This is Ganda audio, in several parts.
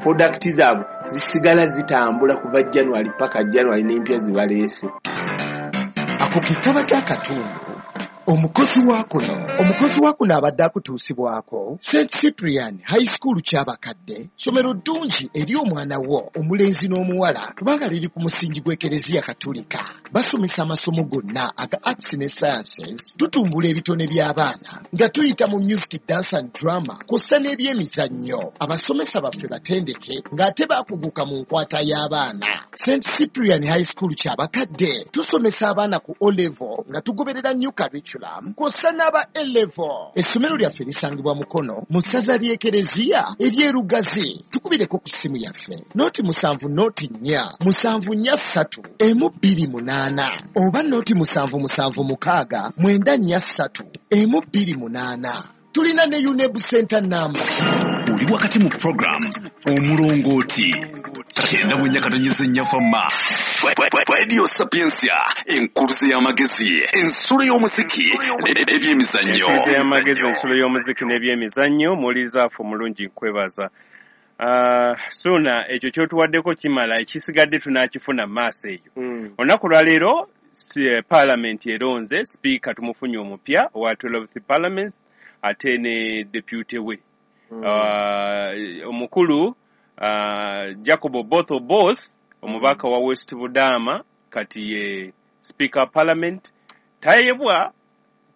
Product zaabwe zisigala zitambula kuva January paka January, n'empya zibaleese. Ako ke kabadde akatundu omukozi wa kuno. Omukozi wa kuno abadde akutuusibwako St Cyprian High School Kyabakadde, ssomero ddungi eri omwana wo omulenzi n'omuwala, kubanga liri ku musingi gw'Ekereziya Katulika. Basomesa amasomo gonna aga arts ne sciences. Tutumbula ebitone by'abaana nga tuyita mu music, dance and drama, kw'ossa n'ebyemizannyo. Abasomesa baffe batendeke ng'ate bakuguka mu nkwata y'abaana. St Cyprian High School Kyabakadde tusomesa abaana ku O level nga tugoberera new curriculum, kw'ossa n'aba A level. Essomero lyaffe lisangibwa Mukono, mu ssaza ly'Ekereziya ery'Erugazi. Tukubireko ku ssimu yaffe 070 04 743 128 oba 077 694 128. Tulina ne UNEB center number. Oli wakati mu program Omulongooti, 94.4 Fama Radio Sapientia, enkuluze y'amagezi, ensulo y'omuziki n'ebyemizannyo. Enkuluze y'amagezi, ensulo y'omuziki n'ebyemizannyo. Muwuliriza omulungi, nkwebaza. Suuna, ekyo kyotuwaddeko kimala, ekisigadde tunakifuna maaso eyo. Olunaku lwaleero Parliament eronze sipiika, tumufunye omupya owa 12th Parliament, ate ne deputy we. Omukulu Jacob Oboth Oboth, omubaka wa West Budama, kati ye speaker wa Parliament. Tayebwa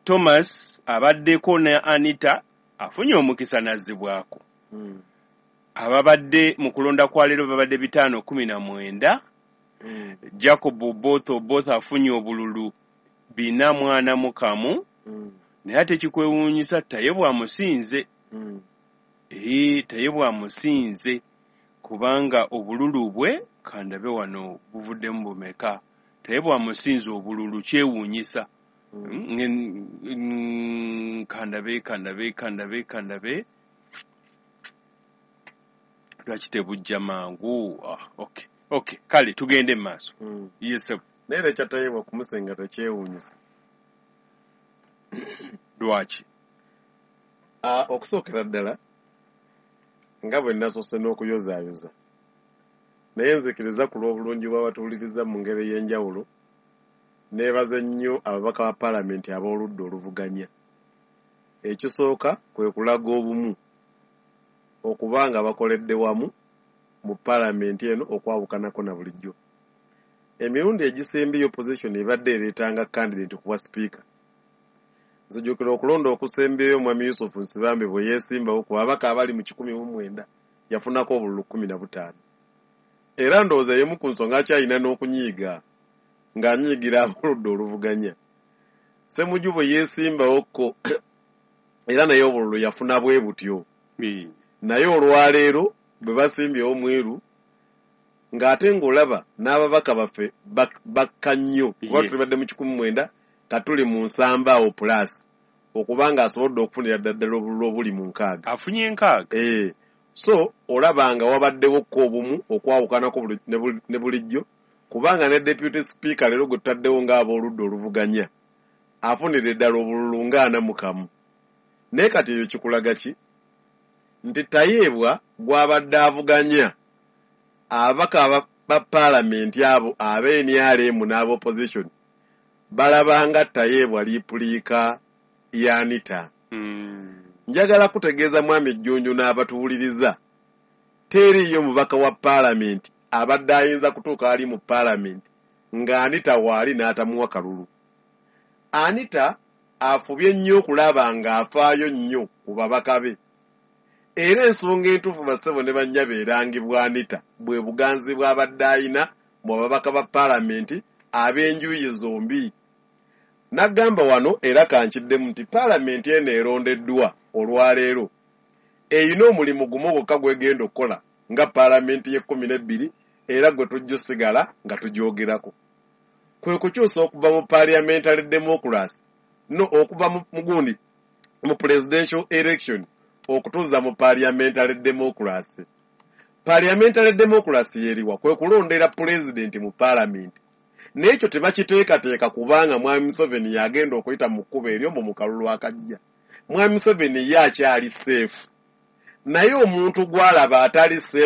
Thomas abaddeko ne Anita afunye omukisa nazzibwako. Ababadde mu kulonda kwa leero babadde 519. Jacob Oboth Oboth afunye obululu 441. Naye ate kikwewuunyisa, Tayebwa amusinze. Ee, Tayebwa amusinze kubanga obululu bwe, kandabe wano, buvuddemu bumeka? Tayebwa amusinze obululu, kyewuunyisa. Kandabe, kandabe, kandabe, kandabe, lwaki tebujja mangu? Ah, okay, kale tugende mu maaso. Yes. Naye era ekyatayebwa kumusenga tekyewuunyisa. Lwaki? Ah, okusookera ddala, nga bwe nasoose n'okuyozaayoza, naye nzikiriza ku lw'obulungi bw'abatuwuliriza mu ngeri ey'enjawulo, neebaze nnyo ababaka ba paalamenti ab'oludda oluvuganya. Ekisooka kwe kulaga obumu, okuba nga bakoledde wamu mu paalamenti eno, okwawukanako na bulijjo. Emirundi egisembyeyo opposition ebadde ereetanga candidate kuwa sipiika. Nzijukira okulonda okusembyeyo, Mwami Yusufu Nsibambi bwe yeesimbawo, ku babaka abali mu 190 yafunako obululu 15. Era ndowooza y'emu ku nsonga akyalina n'okunyiiga, ng'anyiigira ab'oludda oluvuganya. Semuju bwe yeesimbawokko, era naye obululu yafuna bwe butyo. Naye olwaleero bwe basimbyewo Mwiru, ng'ate ng'olaba n'ababaka baffe bakka nnyo, kuba tubadde mu 190, katuli mu nsamba awo plus, okuba nga asobodde okufunira ddala obululu obuli mu 60. Afunye 60. Eh, so olaba nga wabaddewo ko obumu okwawukanako ne bulijjo, kubanga ne deputy speaker leero gwe tutaddewo ng'abooludda oluvuganya afunira eddala obululu nga 41. Naye kati eyo kikulaga ki? Nti Tayeebwa gw'abadde avuganya, ababaka ba paalamenti abo ab'NRM n'aba opposition balabanga Tayeebwa replica ya Anita. Njagala kutegeeza Mwami Jjunju n'abatuwuliriza, teriiyo mubaka wa paalamenti abadde ayinza kutuuka ali mu paalamenti nga Anita waali n'atamuwa kalulu. Anita afubye nnyo okulaba ng'afaayo nnyo ku babaka be, era ensonga entuufu, bassebo ne bannyabo, erangibwa Anita bwe buganzi bw'abadde ayina mu babaka ba paalamenti ab'enjuyi zombi. N'agamba wano, era kankiddemu, nti paalamenti eno erondeddwa olwaleero erina omulimu gumu gwokka gwegenda okukola nga paalamenti y'e12, era gwe tujja osigala nga tugyogerako, kwe kukyusa okuva mu parliamentary democracy, no okuva mu gundi, mu presidential election, okutuuza mu parliamentary democracy. Parliamentary democracy yeriwa? Kwe kulondera pulezidenti mu paalamenti. Naye ekyo tebakiteekateeka, kubanga Mwami Museveni yagenda okuyita mu kkubo eryo mu kalulu akajja. Mwami Museveni ye akyali safe, naye omuntu gw'alaba atali safe.